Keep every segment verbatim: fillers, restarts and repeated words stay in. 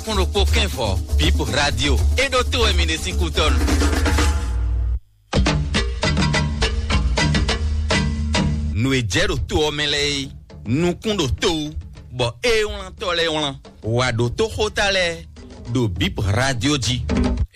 Kún ɖokpó kɛ́nvɔ, Bip Radio. É ɖó tó wɛ mi ɖe sín kútɔ́nu. Nǔ e jɛ ɖo to ɔ́ mɛ lɛ́ɛ é, nukún ɖo to wú, bɔ é wlántɔ́ lɛ́ɛ wlán. Wǎ ɖó tó xóta lɛ́ɛ ɖo Bip Radio jí.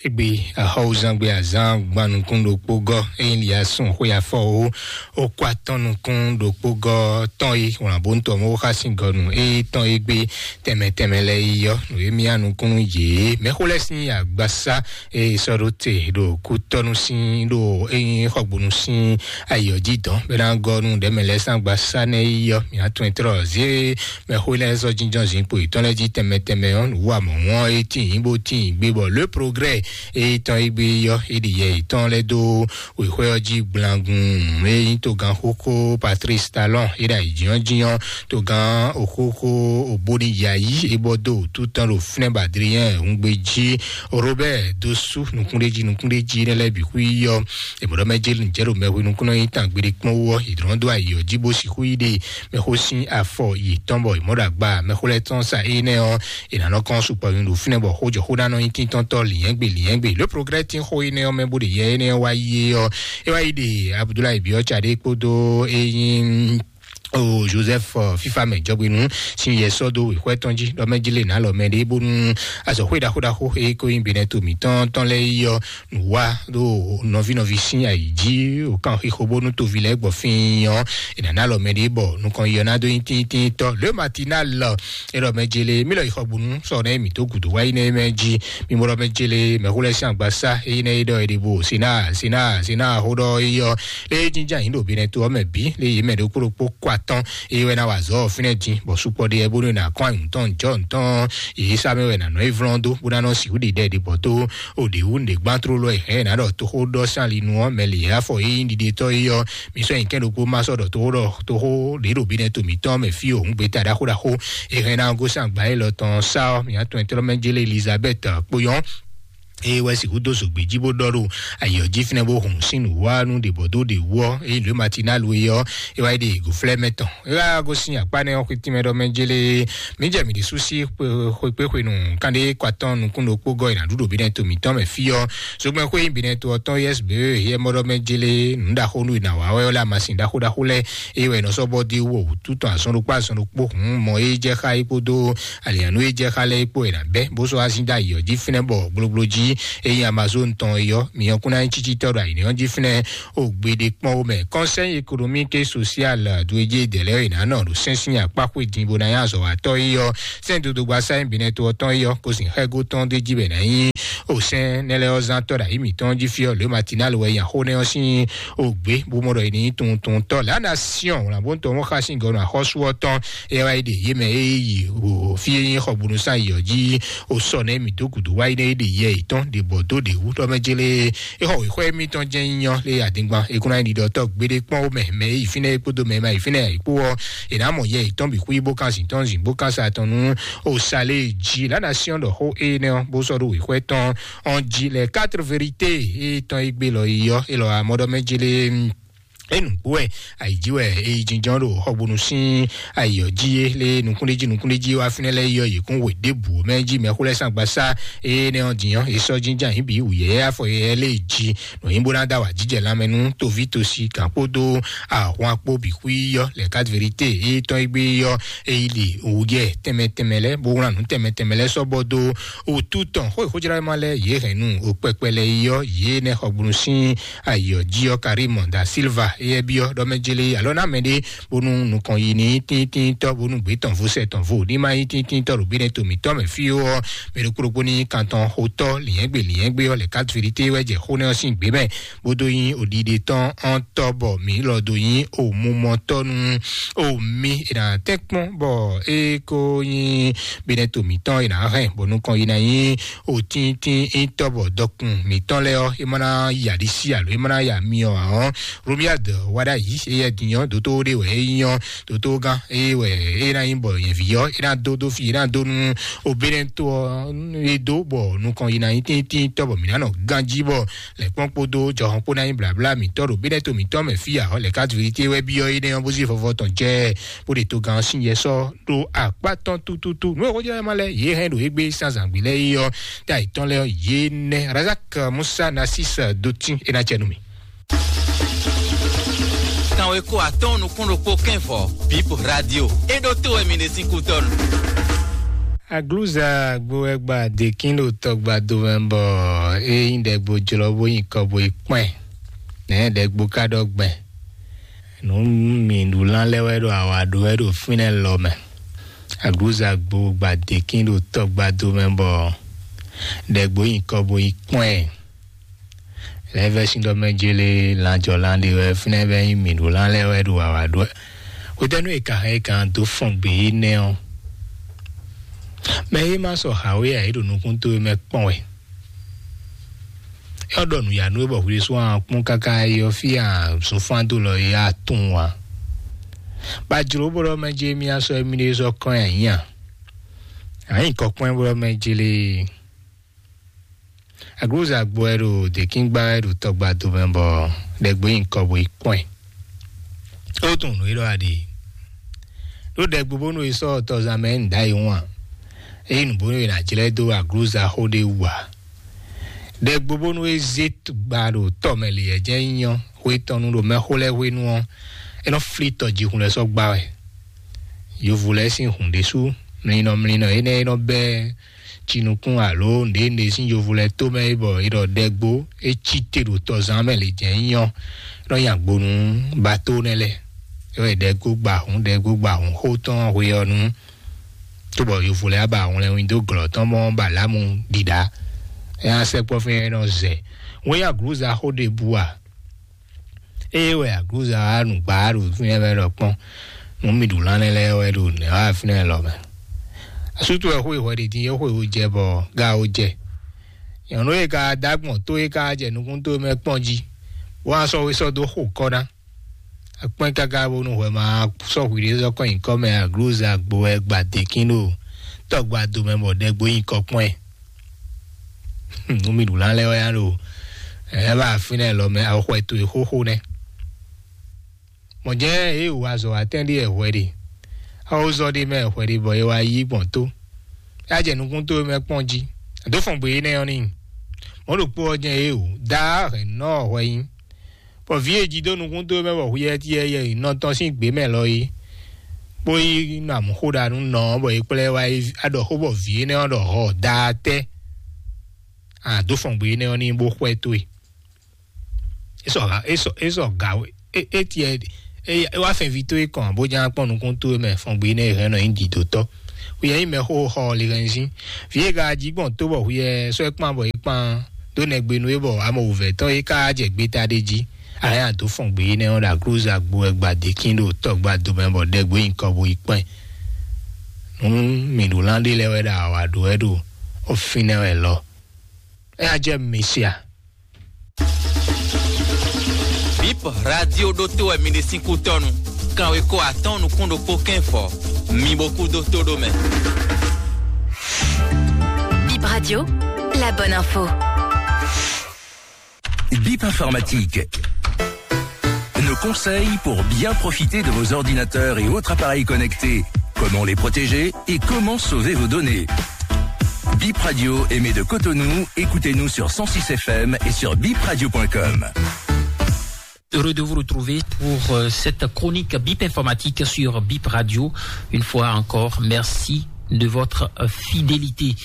Égbé axɔ́wúzán gbé azán gban nukún ɖokpó gɔ́, ényí li asún xwé afɔ ó, ó kó atɔ́n nukún ɖokpó gɔ́ tɔn e wlǎn bó ntɔ́ mɔ xá sín gɔnu e tɔn e gbé tɛmɛ tɛmɛ lɛ yi yɔ. Nǔ e mía nukúnnú yě mɛxó lɛ́ sín agbasá e sɔ́ ɖó te ɖo kútɔ́nú sín ɖo ényí xɔgbónú sín ayǐ ɔ́ jí dɔn bɛ ná gɔ́ nú ɖɛ̌mɛ lɛ́ɛ sín agbasá nɛ́ yi yɔ. Mǐ atɔn e tlɔ zé mɛxó lɛ́ɛ sɔ́ jínjɔ́n zinkpo yětɔn lɛ́ɛ jí tɛmɛ tɛmɛ ɔ́, nǔ wa mɔ̌ wɔn e tíin bó tíin gbé bɔ lě progrès e tɔn e gbé yɔ e ɖi yɛ yětɔn lɛ́ɛ dó wěxwé ɔ́ jí gblangun. E nyí togán xóxó Patrice Talon e ɖo ayǐjínjɔ́n togán òxóxó òbóni yayi e bɔ dó wǔtu tɔn ɖo fínɛ́ bɔ Adrien Hungbe jí, Robert Dosu nukúnɖéjí nukúnɖéjí nɛ́ lɛ́ɛ bǐ xwí yɔ. È mɔ̌ ɖɔ mɛ jɛ nǔjɛ ɖo mɛhwenu kún nɔ nyi tán gbeɖé kpɔ́n wú ɔ́, è dlɔ́n dó ayǐ ɔ́ jí bó sixú yi ɖe mɛxó sín afɔ yětɔn bɔ è mɔ̌ ɖo agba mɛxó lɛ́ɛ tɔn sa énɛ́ ɔ́, è nǎ nɔ kɔn sukpɔ nyi ɖo fínɛ́ bɔ xójɔxó ná nɔ nyí tíntɔ́ntɔ́ lǐnyɛ́gbe lǐnyɛ́gbe. Lě progrès tín xó énɛ́ ɔ́ mɛ bó ɖe yɛ énɛ́ ɔ́ wá yi é ɔ́, é wá yi ɖe Abudulayi Biɔ́ca ɖé kpódó é nyí o Joseph, ɔ, fífa mɛ jɔgbénu sín yɛ sɔ́ dó wěxwɛ́ tɔn jí ɖɔ mɛ jí lè nǎ lɔ mɛ ɖé bónú azɔ̌xwé ɖaxó ɖaxó e ko nyí Benɛto mǐtɔn tɔn lɛ́ɛ yi ɔ́, nǔ wa ɖo nɔví nɔví sín ayǐ jí, wǒ kan xixo bónú toví lɛ́ɛ gbɔ fín ɔ́, è nǎ ná lɔ mɛ ɖé bɔ nukɔn yi ɔ́ ná dó nyí tíntíntɔ́. Le Matinal, é ɖɔ mɛ jele mí lɔ yi xɔ gbonu sɔ nɛ mǐ tó gǔdo wá yi nɛ mɛ jí. Mí mɔ ɖɔ mɛ jele mɛxó lɛ́ɛ sín agbasá é yi nɛ é ɖɔ é ɖe bo sena sena sena xó ɖɔ é yɔ lé jínján yǐ ɖo Benɛto ɔ́ mɛ bǐ lé yě mɛ ɖokpó ɖokpó kó atɔ́n é wɛ ná wa azɔ̌ ɔ́ fínɛ́ dín bɔ sukpɔ ɖe ɛ bónú è nǎ kɔn anyǔ tɔn jɔ̌ tɔn yě sá mɛ wɛ nǎ nɔ é vlɔ́n dó bó ná nɔ sixú ɖi ɖɛ ɖi bɔ tó o ɖě wú nǔɖé gbán tlóló ɛ hɛn ná ɖɔ toxó ɖɔ sín ali nu ɔ́ mɛ lě afɔ é nyí ɖiɖetɔ́ é ɔ́. Mi sɔ́ nyi kɛ́n ɖokpó má sɔ́ ɖɔ toxó ɖɔ toxó ɖě ɖo Benɛto mǐtɔn mɛ fí o hǔn gbeta ɖaxó ɖaxó é hɛn ná gosín agba élɔ́ tɔn sá ɔ́. Mǐ atɔn ɛtɔ́ mɛ jélé Elizabeth kpóyɔ́n eye wɛ sixú dó zǒgbé jí bó ɖɔ ɖo ayǐ ɔ́ jí fínɛ́ bó hun sín nǔwá nú ɖě bɔ dó ɖě wú ɔ́, eye lǒ Matinal e ɔ́, é wá yi ɖe gǒflɛ́ mɛ tɔn. É wá gosín akpá nɛ́ ɔ́ xwetí mɛ ɖɔ mɛ jélé mǐ jɛ mǐ ɖésú sí xwekpéxwenu kánɖé kɔ atɔn nukún ɖokpó gɔ́ yi nǎ ɖu ɖo Benɛto mǐtɔn mɛ fí ɔ́. Zogbɛ́n xwé nyí Benɛto ɔ́ tɔn U S B e yɛ mɔ ɖɔ mɛ jélé nǔ ɖaxó nú e nǎ wa wɛ ɔ́ lɛ́ amasin ɖaxó ɖaxó lɛ́ɛ eye wɛ è nɔ sɔ́ bɔ dó wɔ wǔtu tɔn azɔn ɖokpó azɔn ɖokpó hǔn mɔ e jɛ xá é kpódó alǐanú e jɛ xá lɛ́ɛ é kpó è nǎ bɛ́ bó sɔ́ azín dó ayǐ ɔ́ jí fínɛ́ bɔ gblogbló jí e nyí Amazon tɔn é ɔ́, mi ɔ́ kún ná nyí cícítɔ́ ɖo ayǐ ɔ́ jí fínɛ́ o gbeɖé kpɔ́n ó mɛ. Conseil économique et social dwejé dɛ̌ lɛ́ɛ è nǎ nɔ ɖo sɛ́nsín akpá xwé din bó ná nyí azɔ̌watɔ́ é ɔ́, sɛ́n dodogba sáyɛn Benɛto ɔ́ tɔn é ɔ́, kó sin xɛ́gó tɔn d'é jí bɛ ná nyí o sɛ́n nɛ́ lɛ́ɛ ɔ́ zán tɔ́ ɖo ayǐ mǐtɔn jí fí ɔ́, lě Matinal wɛ nya xó nɛ́ ɔ́ sín o gbě bó mɔ ɖɔ è ní tunwun tunwun tɔ́ lǎ ná Siɔn wlǎnbóntɔ́ mɔ xá sín gɔ́ nɔ axɔ́sú ɔ́ tɔn é wá yi ɖe yě mɛ é yi o fí é nyí xɔgbónúsán yi ɔ́ jí o sɔ nɛ́ mǐ dó gǔdo wá yi nɛ́ é ɖe yɛ yětɔn ɖe bɔ dó ɖě wú ɖɔ mɛ jélé é xɔ wěxɔ émítɔn jɛ́n nyínyɔ́ lé adingban é kún ná yi ɖiɖɔ tɔ́ gbeɖé kpɔ́n ó mɛ mɛ é yi fínɛ́ é kpódó mɛ ma yi fínɛ́ é kpó ɔ́, è nǎ mɔ yɛ yětɔn bǐ xwí bó kan zǐn tɔn zǐn bó kan sa tɔn nú o sa lé jí lǎ ná Siɔn ɖɔ xó énɛ́ ɔ́ bó sɔ́ ɖó wěxɔ tɔn ɔ́n jí lɛ quatre vérité é tɔn é gbé lɔ yi ɔ́ é lɔ amɔ́ ɖɔ mɛ jélé é nǔgbó wɛ ayǐjí wɛ é yi jínjɔ́n ɖo xɔgbónú sín ayǐ ɔ́ jí é lé nukúnɖéjí nukúnɖéjí wá fínɛ́ lɛ́ɛ yɔ yě kún wě ɖěbǔ mɛ jí mɛxó lɛ́ɛ sín agbasá énɛ́ ɔ́ din ɔ́, é sɔ́ jínjɔ́n ayǐ bǐ wǔyɛ́yɛ́ afɔ yɛ́yɛ́ lé jí nǔ nyí bó ná dó awǎjijɛ lanmɛ nú toví tosi gǎn kpódó ahwan kpó bǐ xwí yɔ lɛ quatre vérité é tɔn é gbé yɔ é yi li wǔyɛ tɛnmɛ tɛnmɛ lɛ́ɛ bó wlán nǔ tɛnmɛ tɛnmɛ lɛ́ɛ sɔ́ bɔ dó wǔtu tɔn xó e xójlá ma lɛ́ɛ yě hɛn nú o kpɛkpɛ lɛ́ɛ yi ɔ́ yě nɛ́ xɔgbónú sín ayǐ ɔ́ jí ɔ́ Karim da Silva éyɛ́ byɔ́ ɖɔ mɛ jélé alɔ ná mɛ ɖé bónú nukɔn yi ní tíntíntɔ́ bónú gbě tɔn vo sɛ tɔn vo ní má nyí tíntíntɔ́ ɖo bínɛ to mǐtɔn mɛ fí ó ɔ́, mɛ ɖokpó ɖokpó ní kan tɔn xotɔ́ lǐnyɛ́gbe lǐnyɛ́gbe ɔ́ lɛ quatre vérité wɛ jɛ xó nɛ́ ɔ́ sín gbě mɛ bó dó nyí oɖiɖe tɔn ɔ́n tɔ́ bɔ mǐ lɔ dó nyí omumɔtɔ́ nú omi è nǎ tɛ́nkpɔ́n bɔ é kó nyí bínɛ to mǐtɔn è nǎ hɛn bɔ nukɔn yi ná nyí òtíntín ítɔ́ bɔ dɔkun mǐtɔn lɛ́ɛ ɔ́ é má ná ya ɖisí alo é má ná ya myɔ ǎ ɔ́. Romia Wada yi eye dinyɔ doto ɖe wɛ e nyɔ doto gan eye wɛ e na nyi bɔ yɛn vi yɔ e na do do fi e na do nu obere to ɔ e do bɔ nukɔn yi na nyi tíntín tɔ bɔ mi na nɔ ganji bɔ lɛ kpɔn kpodo jɔhɔn kpo na nyi blabla mi tɔ ɖo bene to mi tɔ mɛ fi ahɔ lɛ ka vérité wɛ bi yɔ e ne yɔ bó zi vɔvɔ tɔn jɛ bó de to gan sin yɛ sɔ ɖo akpa tɔn tututu nu e xɔjɔ ma lɛ ye hɛn ɖo egbe sanzangbe lɛ yi yɔ ta yi tɔn lɛ yɛ nɛ razak musa nasis dotin e na cɛ nu mi. Kanweko atɔ́ɔ́n nukún ɖokpó kɛ́nvɔ bip radio e ɖo to wɛ mi ɖe sín kútɔ́nu. Agluza gbo wɛ gba dekin ɖo tɔgba do mɛ bɔ e nyi ɖɛgbo jlɔ bó nyi kɔ bo yi kpɛn nɛ ɖɛgbo ka ɖɔ gbɛn nu mi ɖu lan lɛ wɛ ɖo awa ɖo wɛ ɖo fínɛ lɔ mɛ. Agluza gbo gba dekin ɖo tɔgba do mɛ bɔ ɖɛgbo nyi kɔ bo yi kpɛn. Lɛvɛsindɔmɛjele lanjɔlan ɖe wɛ fínɛ́ vɛ nyí mǐ ɖó lan lɛ́ɛ wɛ ɖo awǎ ɖó wɛ. Hwetɛ́nu e ka hɛn e kan dó fɔn gbě énɛ́ ɔ́, mɛ e ma sɔ hǎwe ǎ é ɖo nukún towe mɛ kpɔ́n wɛ. É ɔ́ ɖɔ nǔyanu e bɔ hwi ɖésú a kpɔ́n káká é ɔ́ fí a zunfán dó lɔ é a tunwun ǎ. Ba jlǒ bó ɖɔ mɛ jɛ mì asɔ émí ɖé sɔ́ kɔn nyi ayǐ a? Ǎ nyǐkɔ kpɔ́n bó ɖɔ mɛ jele. Aglúza gbɔ wɛ ɖo děkíngba wɛ ɖo tɔgba domɛ bɔ ɖɛgbo nyi kɔ bo yi kpɔ́n ɛ. Ó tunwun nǔ e ɖɔ a ɖe. Ɖó ɖɛgbo bónú è sɔ́ tɔzan mɛ nǔ ɖ'ayǐ wún a? Ényí nǔ bónú è nǎ jlɛ́ dó aglúza xó ɖé wú ǎ. Ɖɛgbo bónú é zé gba ɖo tɔ mɛ lě yɛ jɛ́n nyí ɔ́, xwé tɔn nu ɖo mɛxó lɛ́ɛ hwenu ɔ́, é nɔ flí tɔjihun lɛ́ɛ sɔ́ gbá wɛ. Yovo lɛ́ɛ sín hǔn ɖésú, mlinɔ mlinɔ énɛ́ e nɔ bɛ́ jinukún alo nǔɖé nǔɖé sín yovo lɛ́ɛ tomɛ é bɔ è ɖɔ ɖɛgbo é cí te ɖo tɔzán mɛ lě jɛ́n nyí ɔ́, é nɔ nyi agbo nú bato nɛ́ lɛ́ɛ. É wɛ ɖɛgbo gba hǔn ɖɛgbo gba hǔn xó tɔn hwe ɔ́ nú, cóbɔ yovo lɛ́ɛ ba hwlɛnwin dó glɔ̌ tɔn mɔ ba lǎmu ɖiɖa. É nɔ sɛkpɔ́ fínɛ́ é nɔ zɛ. Wɛn nyi aglǔza xó ɖěbǔ a? Ée wɛ aglǔza wá nǔgbá ɖo fínɛ́ wɛ ɖɔ kpɔ́n, nǔ mi ɖu lánlɛ́ lɛ́ɛ wɛ ɖo nɛ̌ wá fínɛ́ lɔ mɛ. Asútú wɛ xó e hwɛ ɖě din é xwe wo jɛ bɔ ga wo jɛ. Nyɔ̌nu e ka dó agbɔn tó e ka jɛ nukún tó mɛ kpɔ́n jí, bó wá sɔ́ wé sɔ́ dó xo kɔ́ ná. Akpɔ́n káká bónú hwɛ ma sɔ́ hwi ɖé sɔ́ kɔn nyǐkɔ mɛ aglǔza gbo wɛ gba děkín ɖo tɔgba domɛ bɔ ɖɛgbo nyí kɔ kpɔ́n ɛ. Nú mi ɖu lan lɛ́ɛ wɛ ya ɖo ɛ bá fínɛ́ lɔ mɛ axɔxwɛ towe xóxó nɛ́. Mɔ̌ jɛ́n yě wǔ azɔ̌ wá tɛ́n ɖíe hwɛ ɖe. Awozɔ ɖé mɛ hwɛ ɖe bɔ é wá yí gbɔn tó. É wá jɛ nukún towe mɛ kpɔ́n jí. Dǒ fɔn gbě énɛ́ ɔ́ n'i. Mɔ̌ ɖokpó ɔ́ jɛ́n yě wǔ. Daá hɛ̌nnɔ ɔ́ hwɛ nyí. Bɔ vǐ e jí dó nukún towe mɛ bɔ hwiyɛ́ cyɛ́ yɛ nɔ tɔn sín gbě mɛ lɔ é, bó yi nɔ amǔ xó ɖa nú nɔ ɔ́, bɔ é kplá ɛ wá yi aɖɔ xó bɔ vǐ énɛ́ ɔ́ ɖɔ hɔ daatɛ́. Àdó fɔn gbě énɛ́ ɔ́ ní bó xwɛ towe. É sɔ ha é sɔ é sɔ ga é é tiɛ é é wá fɛn vi towe kɔn bó ján kpɔ́n nukún towe mɛ fɔn gbě énɛ́ hɛn nɔ nyí dǐdótɔ́. Xwiyɛ nyí mɛ xó xɔ lihɛnzín. Vǐ e ka jí gbɔn tó bɔ xwiyɛ sɔ́ ɛ kpan bɔ é kpan dó nɛgbenu é bɔ amɔ wǔvɛ́ tɔn é ka jɛ gbeta ɖé jí. Ayé àdó fɔn gbě énɛ́ ɔ́ ɖo aglúza gbo wɛ gba dékín ɖo tɔgba domɛ bɔ ɖɛgbo nyi kɔ bo yi kpɛn. Nú mǐ ɖo lán ɖé lɛ́ɛ wɛ ɖo awǎ ɖó wɛ ɖo ɔfínɛ́ wɛ lɔ. É á jɛ mi sia. Bip radio ɖo to wɛ mi ɖe sín kútɔnu. Kanwe ko atɔn nukún ɖokpó kɛn fɔ. Mi bo kú dó tó ɖó mɛ. Bip Radio, la bonne info. Bip informatique. Nos conseils pour bien profiter de vos ordinateurs et autres appareils connectés. Comment les protéger et comment sauver vos données. Bip Radio émet de Cotonou. Écoutez-nous sur cent six F M et sur bip radio point com. Heureux de vous retrouver pour euh, cette chronique Bip Informatique sur Bip Radio. Une fois encore, merci de votre euh, fidélité.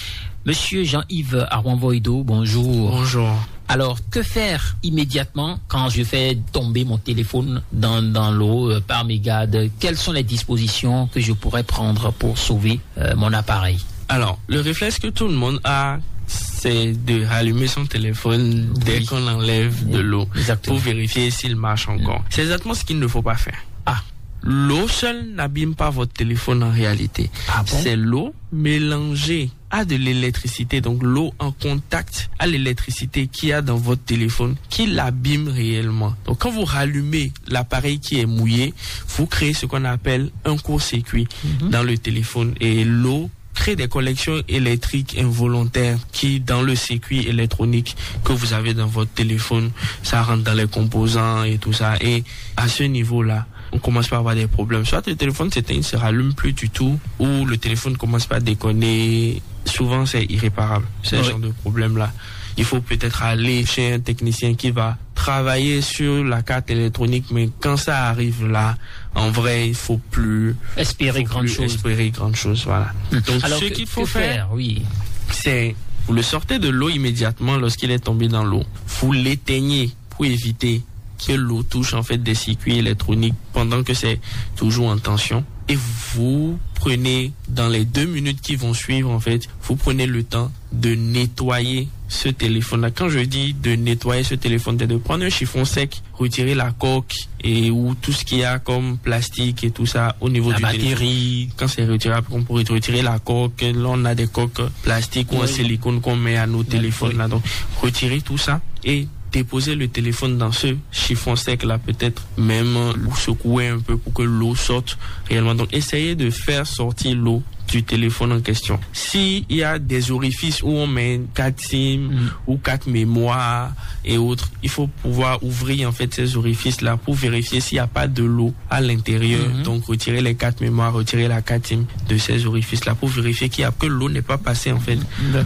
Monsieur Jean-Yves Arwanvoido, bonjour. Bonjour. Alors, que faire immédiatement quand je fais tomber mon téléphone dans, dans l'eau euh, par mes gardes ? Quelles sont les dispositions que je pourrais prendre pour sauver euh, mon appareil ? Alors, le réflexe que tout le monde a, c'est de rallumer son téléphone dès qu'on l'enlève de l'eau pour vérifier s'il marche encore. C'est exactement ce qu'il ne faut pas faire. Ah, L'eau seule n'abîme pas votre téléphone en réalité. Ah bon ? C'est l'eau mélangée à de l'électricité, donc l'eau en contact à l'électricité qu'il y a dans votre téléphone qui l'abîme réellement. Donc quand vous rallumez l'appareil qui est mouillé, vous créez ce qu'on appelle un court-circuit dans le téléphone et l'eau crée des connexions électriques involontaires qui, dans le circuit électronique que vous avez dans votre téléphone, ça rentre dans les composants et tout ça. Et à ce niveau-là, on commence par avoir des problèmes. Soit le téléphone s'éteint, il ne se rallume plus du tout, ou le téléphone commence par déconner. Souvent, c'est irréparable, ce genre de problème-là. Il faut peut-être aller chez un technicien qui va travailler sur la carte électronique, mais quand ça arrive là, en vrai, il faut plus espérer faut plus espérer grande chose. Voilà. Donc, ce qu'il faut faire, oui, c'est vous le sortez de l'eau immédiatement lorsqu'il est tombé dans l'eau. Vous l'éteignez pour éviter que l'eau touche en fait des circuits électroniques pendant que c'est toujours en tension. Et vous prenez, dans les deux minutes qui vont suivre, en fait, vous prenez le temps de nettoyer ce téléphone-là. Quand je dis de nettoyer ce téléphone, c'est de prendre un chiffon sec, retirer la coque et ou tout ce qu'il y a comme plastique et tout ça au niveau du téléphone. La batterie. Quand c'est retiré, on peut retirer la coque. Là, on a des coques plastiques ou en silicone qu'on met à nos téléphones là. Donc, retirer tout ça et déposer le téléphone dans ce chiffon sec là, peut-être même le secouer un peu pour que l'eau sorte réellement. Donc, essayez de faire sortir l'eau du téléphone en question. S'il y a des orifices où on met quatre SIM ou quatre mémoires et autres, il faut pouvoir ouvrir en fait ces orifices-là pour vérifier s'il n'y a pas de l'eau à l'intérieur. Donc retirer les quatre mémoires, retirer la carte SIM de ces orifices-là pour vérifier qu'il y a, que l'eau n'est pas passée en fait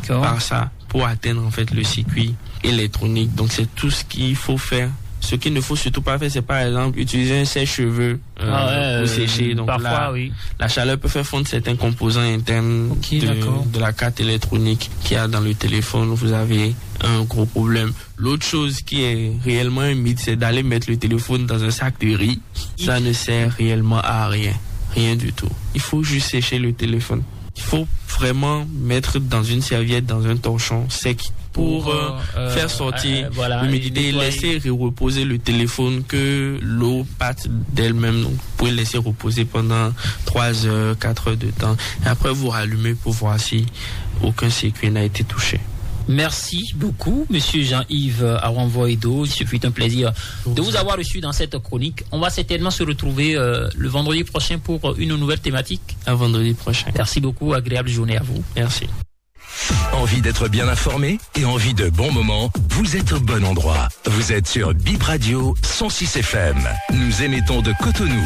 par ça pour atteindre en fait le circuit électronique. Donc c'est tout ce qu'il faut faire. Ce qu'il ne faut surtout pas faire, c'est par exemple utiliser un sèche-cheveux euh, ah ouais, pour sécher. Donc parfois, là, oui, la chaleur peut faire fondre certains composants internes de, de la carte électronique qu'il y a dans le téléphone. Vous avez un gros problème. L'autre chose qui est réellement un mythe, c'est d'aller mettre le téléphone dans un sac de riz. Ça ne sert réellement à rien. Rien du tout. Il faut juste sécher le téléphone. Il faut vraiment mettre dans une serviette, dans un torchon sec pour, pour euh, euh, faire sortir euh, voilà, l'humidité et laisser reposer le téléphone, que l'eau parte d'elle-même. Donc, vous pouvez laisser reposer pendant trois heures, quatre heures de temps. Et après, vous rallumez pour voir si aucun circuit n'a été touché. Merci beaucoup, Monsieur Jean-Yves Awanvoido. Ce fut un plaisir de vous avoir reçu dans cette chronique. On va certainement se retrouver euh, le vendredi prochain pour une nouvelle thématique. À vendredi prochain. Merci beaucoup, agréable journée à vous. Merci. Envie d'être bien informé et envie de bons moments ? Vous êtes au bon endroit. Vous êtes sur Bip Radio cent six F M. Nous émettons de Cotonou.